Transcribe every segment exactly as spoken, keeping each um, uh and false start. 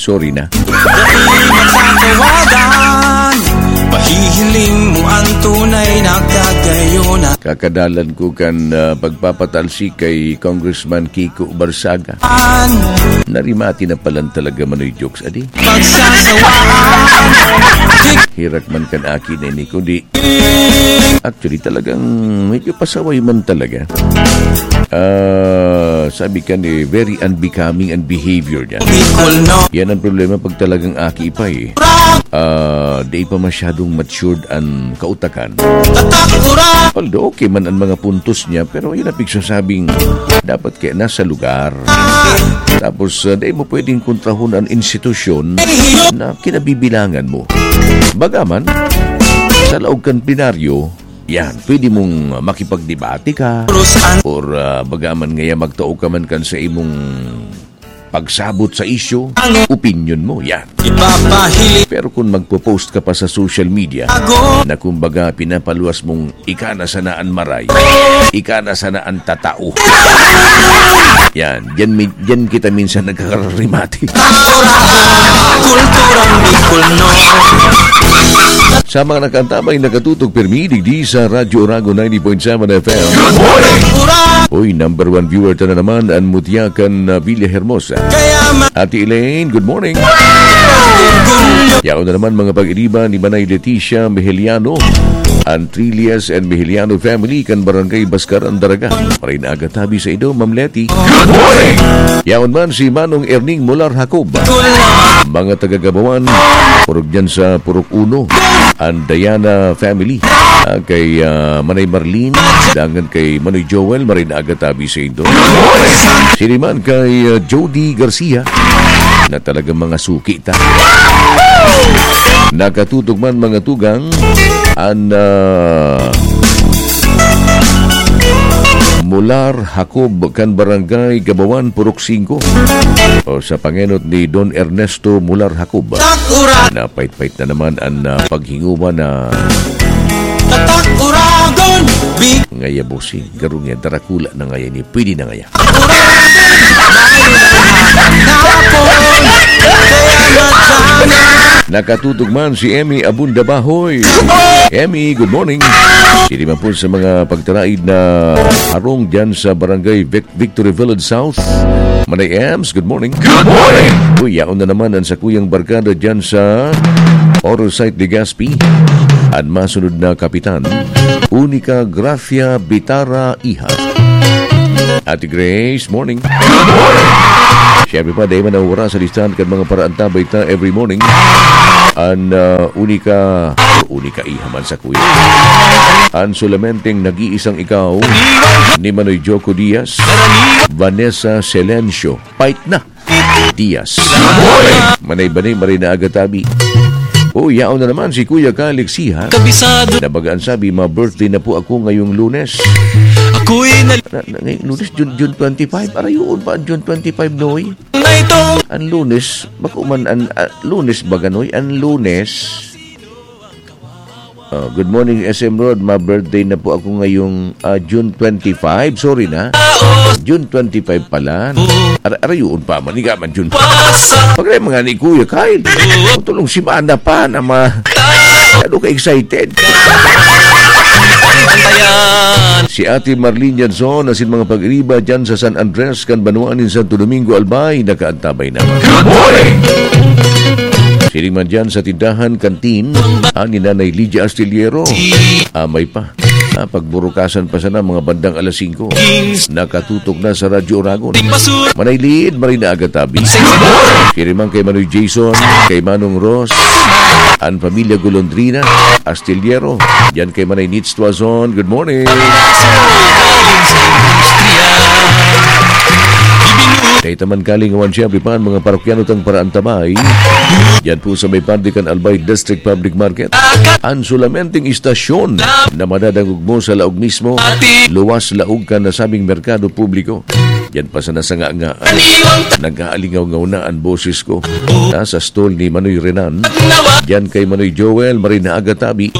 Sorry na. Dai matatawagan, pahihiling mo ang tunay na kagayunan. Kakadalan ko kan, ah, pagpapatalsik kay Congressman Kiko Barsaga. Narimati na palan talaga manoy jokes, adi. Pagsasawaan. Hirak man kan aki na ini, kundi actually, talagang medyo pasaway man talaga. Ah, sabi ka ni, very unbecoming ang behavior niya. Bicol, no? Yan ang problema pag talagang aki pa eh. Ah, di pa masyadong matured ang kautakan. Tatak, ura. Although okay man ang mga puntos niya, pero yun ang pigsasabing dapat kaya nasa lugar. Tapos, ah, di mo pwedeng kontrahon ang institusyon na kinabibilangan mo. Bagaman, sa laog kan plenaryo, yan, pwede mong makipagdebate ka, or, ah, bagaman ngaya magtao ka man kan sa imong pagsabot sa isyu, opinion mo, yan. Ipapahiling. Pero kung magpo-post ka pa sa social media, ako, na kumbaga pinapaluwas mong ika na sana an maray, ika na sana an tatao. Yan, diyan, mi- diyan kita minsan nagkakarimati. Kulturang Bicol, no? Sa mga nakaantabay, nakatutok pirmi digdi sa Radyo Oragon ninety point seven F M. Uy, number one viewer ta na naman, an mutya kan, ah, Villa Hermosa. Kaya ma- Ate Elaine, good morning. Yaon na naman mga pag-iriba ni Manay Leticia Mejeliano, an Trillas and Mejeliano family kan Barangay Bascar, Andaraga. Maray na aga tabi sa indo, Ma'am Leti. Good morning! Yaon man si Manong Erning Molar Jacob. Mga taga Gabawan, purog dyan sa Purok Uno. An Diana family, ah, kay, ah, Manay Marlene, dangan kay Manoy Joel, maray na aga tabi sa indo. Siniman kay, ah, Jody Garcia, na talagang mga suki ta. Nakatutok man mga tugang, an, ah, Molar Jacob kan Barangay Gabawan, Purok singko. O, sa pangenot ni Don Ernesto Molar Jacob. Takura. Napait-pait na naman an, ah, paghinguman na Tatak, Uragon, Bicol. Ngaya bossing, garong yan, darakula na ngaya ni, pwede na ngaya. Nakatutok man si Emmy Abunda Bahoy. Emmy, good morning. Sini man po sa mga pagtaraid na harong dyan sa Barangay Vic- Victory Village South. Manay Ems, good morning. Good morning! Uy, yaon na naman ang sakuyang barkada dyan sa Auto Site Legazpi. At masunod na kapitan, Unica Gracia Bitara Iha. Ate Grace, morning. Good morning! Siyempre pa, dahil man ang oras sa listahan kan mga paraantabay ta every morning. An, ah, Unica, Unica Iha man sa kuya. An solamenteng nag-iisang ikaw ni Manoy Joko Diaz, Vanessa Silencio, pait na Diaz. Manay-banay, maray na aga tabi. O, yaon na naman si Kuya Kyle Exiha. Kabisado. Na baga an sabi, "Ma-birthday na po ako ngayong Lunes." Ako'y nal- Na, na, ngayong Lunes, June, June twenty-five. Arayoon pa ang June twenty-five, Noy? Na ito. Ang Lunes, bako man ang, ah, Lunes ba, Ganoy? Ang Lunes. Oh, good morning, S M Rod. Ma-birthday na po ako ngayong, ah, June twenty-five. Sorry na. June twenty-five pala. Ar- arayoon pa man. Higa man June. Pagre mga ni Kuya Kyle. Tulong si Mana pa na ma-, ano ka excited? Si Ate Marlene Yanzon, asin mga pag-iriba dyan sa San Andres, kan banwaan nin Santo Domingo, Albay, nakaantabay na. Good morning! Siring man dyan sa tindahan, kantin, ah, ni Nanay Lydia Astillero. Ah, may pa. Ah, pagburukasan pa sana, mga bandang alas singko. Nakatutok na sa Radyo Oragon. Manay Lid, maray na aga tabi. Siring man kay Manoy Jason, kay Manong Ross, an pamilya Golondrina, Astillero. Yan kay Manay Nits Tuazon. Good morning. Kay Taman Kalingawan, siyempre pa, ang mga parokyano tang paraantabay. Yan po sa may parte kan Albay District Public Market. Ang solamenteng istasyon na madadangog mo sa laog mismo, luwas laog kan nasabing merkado publiko. Diyan pa sana sa nga nga, nag-aalingaw-ngaw na ang boses ko. Nasa stall ni Manoy Renan. Diyan kay Manoy Joel, Marina Agatabi.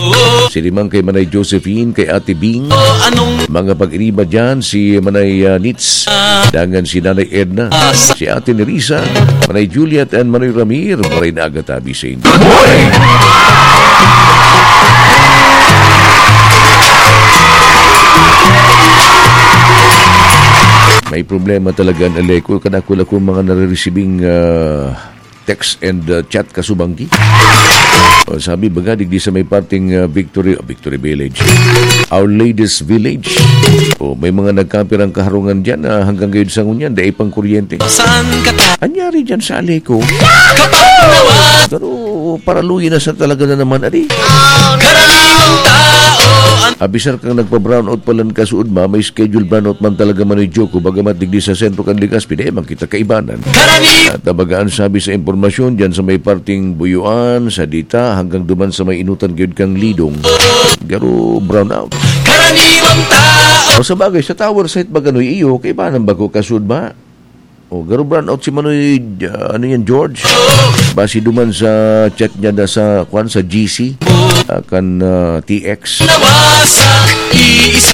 Siniman kay Manay Josephine, kay Ate Bing. Mga pag-iriba dyan, si Manay, ah, Nits. Dangan si Nanay Edna. Si Ate Nerissa, Manay Juliet, and Manoy Ramir, Marina Agatabi sa inyo. May problema talaga ang Aleco. Kadakula kong mga nare-receiving, ah, text and, ah, chat kasubanggi. O, sabi, baga, digdi sa may parting, ah, Victory, ah, Victory Village. Our Ladies Village. O, may mga nagkapirang kaharungan dyan na hanggang ngayon sa ngunyan, dai pang kuryente. Saan ka ta- Anyari dyan sa Aleco? Pero, paralugi na sa talaga na naman, adi. Karaniwang tao ang Abisar kang nagpa-brownout palan kasuod ma, may schedule brownout man talaga man ni Joko, bagamat digdi sa sentro kan Legazpi, dai man kita kaibanan. Karaniwang At nabagaan sabi sa impormasyon, dyan sa may parting Buyuan, sa Dita, hanggang duman sa may inutan gyud kang Lidong. Garo brownout. Karaniwang tao. O sa bagay, sa tower site ba gano'y iyo, kaibanan ba ko kasuod ma? O, garo brownout si Manoy, ah, ano yan, George? Basi duman sa chat niya na sa, kwan, sa G C, ah, kan, ah, T X.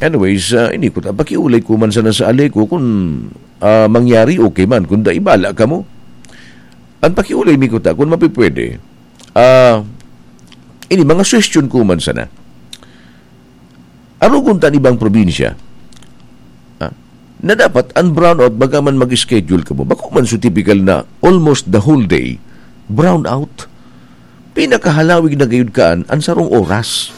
Anyways, ah, ini ko ta, pakiulay ko man sana sa Aleco kung, ah, mangyari, okay man. Kung dai, bala kamo. Ang pakiulay mi ko ta, kung mapipwede, ah, ini, mga suhestyon ko man sana. Arogon ta an ibang probinsya, ah, na dapat an brownout baga man mag-schedule kamo. Bako man so typical na almost the whole day brownout. Pinakahalawig na gayud kaan an sarong oras.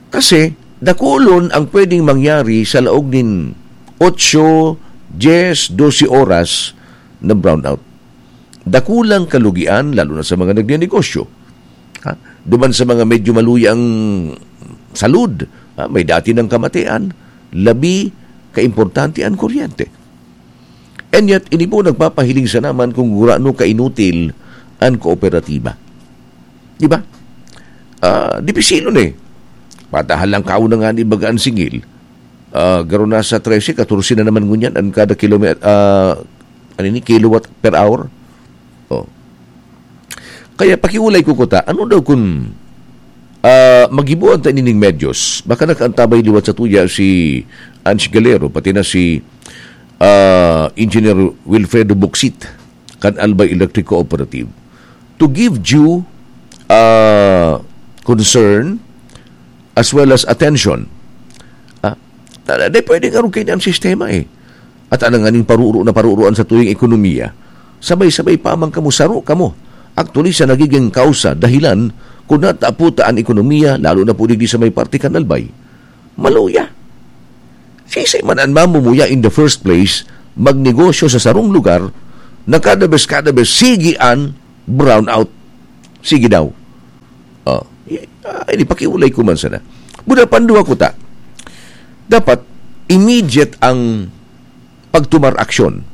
Kasi dakulon ang pwedeng mangyari sa laog nin otso, dyes, dose oras na brownout. Dakulang kalugian, lalo na sa mga nagnenegosyo. Ha? Duman sa mga medyo maluyang salud, ha? May dati ng kamatian, labi kaimportante an kuryente. And yet, ini po nagpapahiling sana man kung gurano kainutil an kooperatiba. Di ba? Ah, dipisilon eh. Patahan lang kao na nga ni baga an singil. Ah, garo na sa trese, katorse na naman ngunyan an kada kilomet-, ah, ano ni, kilowatt per hour. Oh. Kaya pakiulay ko kuta, ano daw kun, ah, maghibuan ta nining medyos? Baka nakaantabay liwat sa tuya si Ange Galero, pati na si, ah, Engineer Wilfredo Buxit kan Albay Electric Cooperative to give due, ah, concern as well as attention. Ah, na, na, di pwedeng arog kaini an sistema eh. At ang nganing paruro na paruro an satuyang ekonomiya, sabay-sabay pa man kamo, saro kamo. Actually, sa nagiging kausa, dahilan, kung natapo ta an ekonomiya, lalo na po digdi sa may parte kan Albay, maluya. Sisay man an mamumuya in the first place, magnegosyo sa sarong lugar, na kada bes, kada bes, sige an brownout. Sige daw. Oh, i-, ah, ini pakiulay ko man sana. Buda panduwa ko ta. Dapat immediate ang pagtumar aksyon.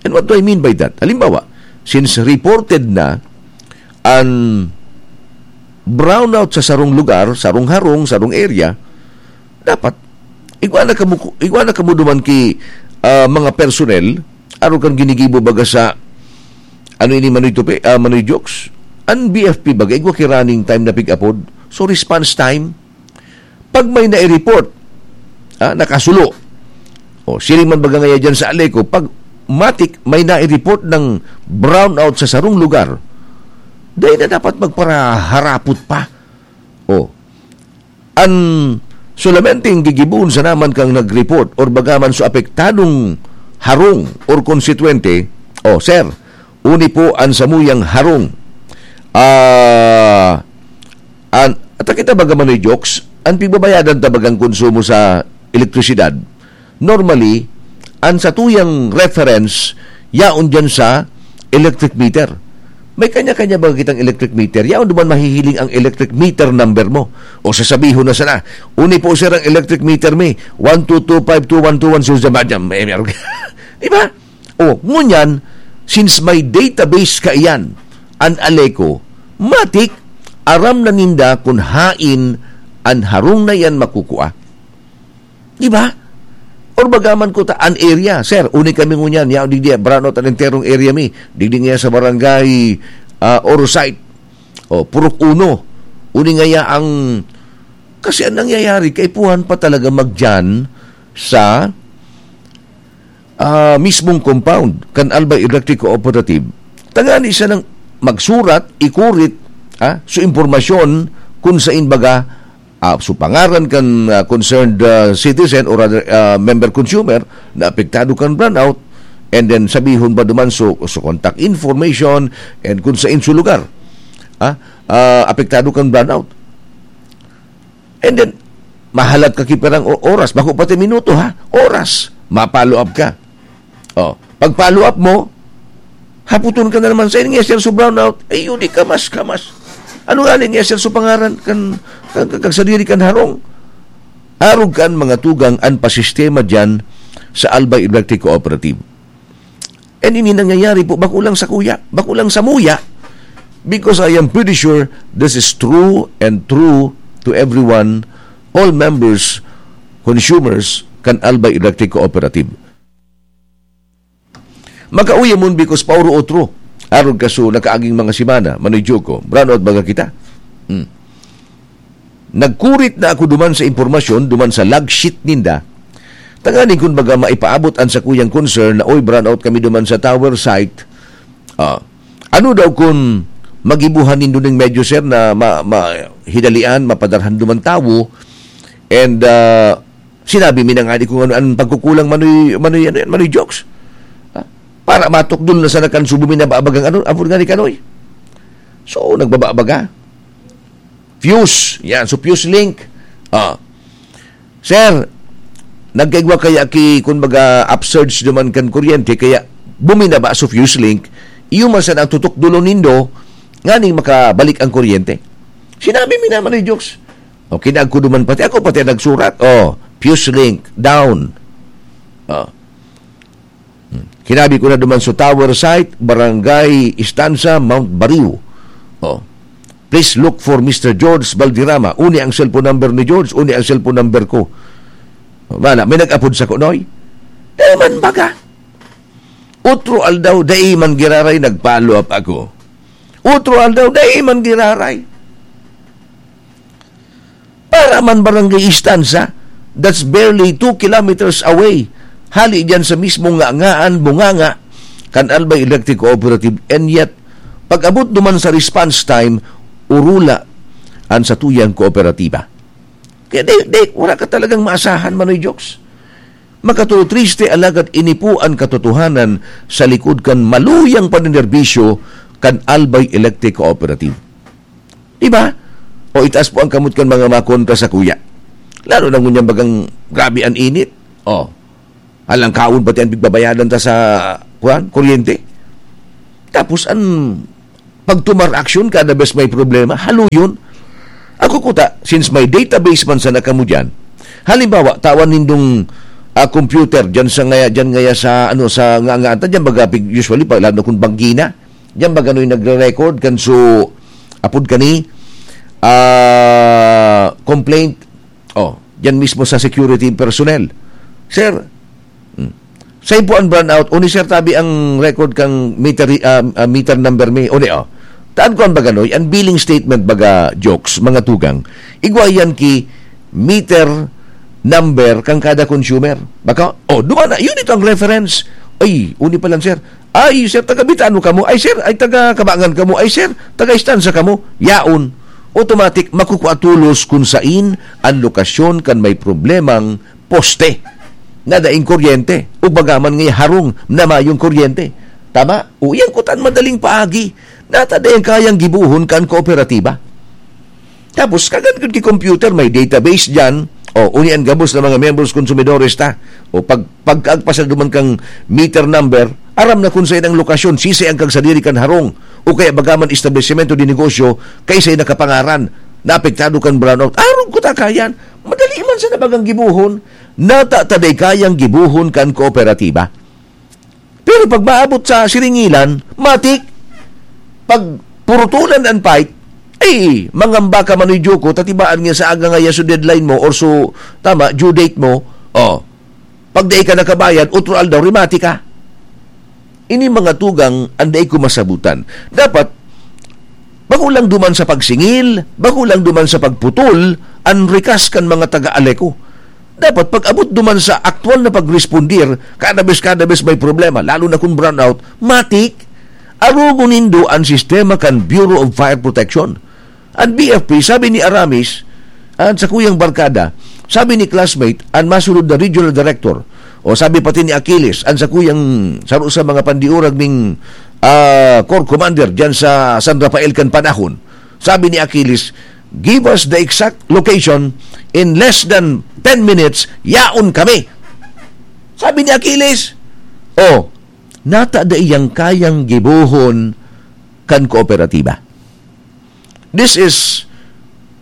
And what do I mean by that? Halimbawa, since reported na an brownout sa sarong lugar, sarong harong, sarong area, dapat igwa na kamo, igwa na kamo duman ki, ah, mga personnel, arog kan ginigibo baga sa, ano ini, Manoy Tupi, ah, Manoy Jokes? An B F P baga, igwa ki running time na pig-apod. So, response time, pag may nai-report, ah, nakasulo. O, siring man baga ngaya dyan sa Aleco, pag matik may nai-report ng brownout sa sarong lugar, dai na dapat magparaharapot pa. O, an solamente ang gigibohon sa naman kang nag-report or bagaman sa apektadong harong or konstituente, o, sir, uni po an samuyang harong. Ah, an, at kita baga man ni jokes, an pigbabayadan ta bagang konsumo sa elektrisidad, normally, an satuyang reference, yaon dyan sa electric meter. May kanya-kanya ba kitang electric meter? Yaon duman mahihiling ang electric meter number mo. O sasabihon na sana, "Uni po, sir, ang electric meter mi, one two two five two one two one zero." Di ba? O, ngunyan, since may database kaiyan, an Aleco, matik, aram na ninda kun hain an harong na iyan makukua. Di ba? Or baga man kuta an area, sir, uni kami ngunyan, yaon digdi, brownout an enterong area mi, digdi nga sa barangay, ah, Orosite, o Purok Uno, uni ngaya ang, kasi ang nangyayari, kaipuhan pa talaga magdiyan sa, ah, mismong compound kan Albay Electric Cooperative, tangani siya nang magsurat, ikurit, ah, so impormasyon kung sain baga, ah, so pangaran kan, ah, concerned, ah, citizen or other, ah, member consumer na apektado kan brownout, and then sabihon ba duman so, so contact information and kung sain so lugar, ah, ah, apektado kan brownout. And then, mahalat ka ki pirang o-, oras, bako pati minuto ha, oras, ma-follow up ka. Oh, pag-follow up mo, haputon ka na naman, "Sain nga, sir, so brownout?" "Ay, yun, di kamas, kamas." "Ano nga ni nga, sir, so pangaran kan, kan, kan, kan sadiri kan harong?" Arog kan mga tugang an pasistema diyan sa Albay Electric Cooperative. And ini nangyayari po, bako lang sa kuya, bako lang sa muya, because I am pretty sure this is true and true to everyone, all members, consumers kan Albay Electric Cooperative. Makauya mon because pauro otro. Arog kaso nakaaging mga semana, Manoy Joko, brownout baga kita. Hmm. Nagkurit na ako duman sa impormasyon, duman sa log sheet ninda. Tanganing kun baga maipaabot an sakuyang concern na, "Oy, brownout kami duman sa tower site." Ah, ano daw kun magibuhan nindo ning medyo, sir, na ma-, ma-, hidalian, mapadarhan duman tawo? And, ah, sinabi mi na nga di kung ano ang pagkukulang, Manoy, Manoy, ano yan, Manoy Jokes. Ha? Para matukdol na sana kan subo mi na babagang ano, apod nga ni Kanoy. So, nagbababaga. Fuse. Yan. So, fuse link. Ah. "Sir, nagkaigwa kaya ki, kun baga, upsurge naman kan kuryente, kaya buminaba so fuse link, iyo man sana ang tutukdolon nindo, nganing makabalik ang kuryente." Sinabi mi naman ni Jokes. O, kinagko duman pati ako, pati nagsurat. Oh, fuse link, down. Oh. Hmm. Kinabi ko na duman sa tower site, Barangay Istanza, Mount Bariw. Oh. "Please look for Mister George Valderrama." Uni ang cellphone number ni George, uni ang cellphone number ko. Wala, may nag-apod sa kunoy. Dai man baga. Otro aldaw, dai man giraray, nag-follow up ako. Otro aldaw, dai man giraray. Para man Barangay Istanza, that's barely two kilometers away. Hali diyan sa mismong ngangaan, bunganga, kan Albay Electric Cooperative. And yet, pag-abot duman sa response time, urula an satuyang kooperatiba. Kaya di, di, wala ka talagang maasahan, Manoy Jokes. Makatutriste, alagad ini po an katotohanan sa likod kan maluyang paninerbisyo kan Albay Electric Cooperative. Di ba? O itaas po ang kamot kan mga makontra sa kuya. Lalo na ngunyan bagang grabe an init. O, alang kaon pati ang pigbabayadan ta sa, kuwan, kuryente. Tapos an pagtumar aksyon kada bes may problema, haluyon. Ako kuta, since may database man sana kamo dyan, halimbawa, tawan nindong, ah, computer dyan sa ngaya, dyan ngaya sa, ano, sa nga, nga, ata dyan baga, pig-, usually, pag, lalo na kung banggi na, dyan baga no'y nagre-record kan so, apod kani, ah, complaint, oh, dyan mismo sa security personnel. Sir, hmm, sain po ang brownout? Uni, sir, tabi ang record kang meter, ah, ah, meter number mi. Uni, oh. Taan ko ang baganoy, ang billing statement baga, Jokes, mga tugang. Igwa yan ki meter number kan kada consumer. Baka, oh, duman na, yun ito ang reference. Ay, uni pa lang, sir. Ay, sir, taga Bitano kamo. Ay, sir, ay, taga Kabangan kamo. Ay, sir, taga Istanza kamo. Yaon. Automatic, makukua tolos kung sain ang lokasyon kan may problemang poste na daing kuryente o bagaman nga harong na mayong kuryente. Tama? O, iyan kutan madaling paagi. Nata dai kayang gibohon kan kooperatiba. Tapos, kagan gud ki computer, may database diyan. O, uni an gabos na mga members, konsumidores ta. O, pag, pagkaagpas na duman kang meter number, aram na kung sain ang lokasyon, sisay ang kagsadiri kan harong, o kaya bagaman establisimento de negosyo, kaisay nakapangaran, na apektado kan brownout. Arog ko ta kayan, madali man sana bagang gibohon, nata ta dai kayang gibohon kan kooperatiba. Pero pag maabot sa siringilan, matik, pag purutulan ang pipe, ay, mangamba ka, Manoy Joko, tatibaan nga sa aga nga yaso deadline mo or so, tama, due date mo, oh, Pag dai ka nakabayad, otro aldaw, rimati ka. Ini mga tugang an dai ko masabutan. Dapat, bako lang duman sa pagsingil, bako lang duman sa pagputol, an rikas kan mga taga-Aleco. Dapat, pag-abot duman sa aktual na pagrespondir, kada bes, kada bes may problema, lalo na kung brownout, matik, arogon nindo an sistema kan Bureau of Fire Protection. An B F P, sabi ni Aramis, an sakuyang barkada, sabi ni classmate, an masunod na regional director, o sabi pati ni Achilles, an sakuyang saro sa mga pandiurag ning, ah, corps commander diyan sa San Rafael kan panahon, sabi ni Achilles, "Give us the exact location, in less than ten minutes, yaon kami." Sabi ni Achilles, "Oh, nata daiyang kayang gibohon kan kooperatiba." This is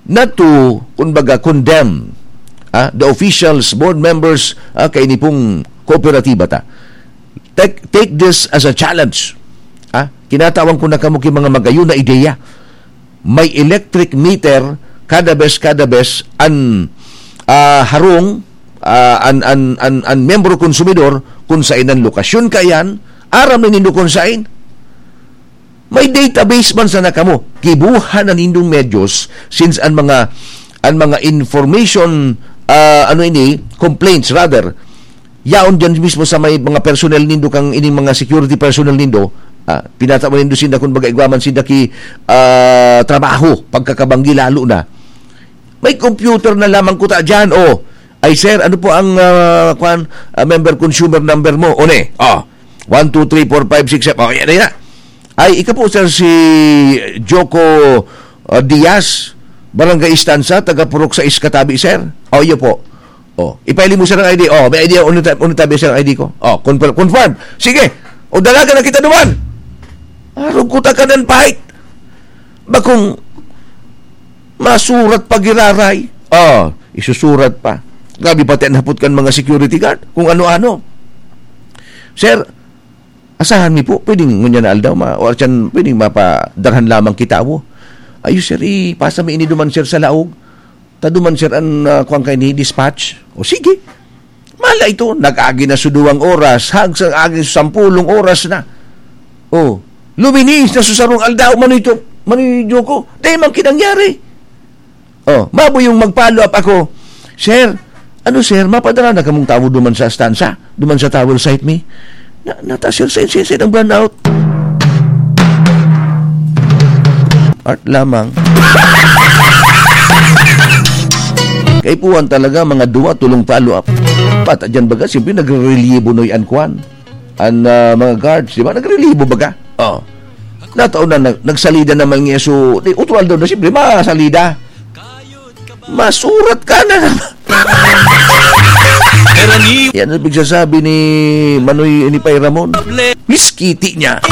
not to, kumbaga, condemn, ah, the officials, board members, ah, kaini pong kooperatiba ta. Take, take this as a challenge. Ah, kinatawan ko na kamo ki mga magayon na ideya. May electric meter, kada bes, kada bes, an, ah, harong, ah, an, an, an, an miyembro konsumidor, kung saan ang lokasyon kaiyan, aram na nindo kung saan. May database man sana kamo. Gibuhan na nindong medyos, since an mga, an mga information, ah, ano ini, complaints rather, yaon diyan mismo sa may mga personnel nindo, kang ining mga security personnel nindo, ah, pinatao nindo sinda, kumbaga, igwa man sinda ki, ah, trabaho, pagkakabanggi lalo na. May computer na lamang kuta diyan, oh. "Ay, sir, ano po ang, ah, kwan, ah, member consumer number mo?" O ne, oh. One, two, three, four, five, six, seven. Oh, yan na, yan na. "Ay, ika po, sir, si Joko, ah, Diaz, Barangay Estanza, taga Purok sais, Katabi, sir." "Oh, iyo po." "Oh, ipahiling mo, sir, ang I D." "Oh, may I D, unitabi, sir, ang I D ko." "Oh, confirm, confirm." "Sige, o, dalagan na kita duman." Arog ko ta ka nan pahit. Bakong masurat pa giraray. Oh, isusurat pa. Grabe pati an hapot kan mga security guard, kung ano-ano. "Sir, asahan mi po, pwedeng ngunyan na aldaw, ma-, or tiyan, pwedeng mapadarhan lamang kita, wo?" "Ayo, sir, ipasa mi ini duman, sir, sa laog. Ta duman, sir, an, ah, kuwan kaini, dispatch." O, sige. Mala ito, nag-agi na sa duwang oras, hag sa agi sa sampulong oras na. Oh, luminis na sa sarong aldaw, Manoy to, Manoy Joko. Dahil man kinangyari. Oh, mabo yung mag-follow up ako. "Sir, ano, sir, mapadara na kamong tawo duman sa stansa? Duman sa tower site mi?" "Na, nata, sir, sa, sa, sa, ang brownout." Art lamang. Kaipuhan talaga, mga duwa, tulong follow up. Pata dyan baga, siyempre, nagre-relieve noy an kwan. An, ah, mga guards, di ba? Nagre-relieve baga. Oh. Nataon na, nag-, nagsalida naman niya. So, di, utual daw na, siyempre, masalida. Masurat ka na naman. Pero ni Yan ang pigsasabi ni Manoy, ni Pay Ramon. Miskiti niya.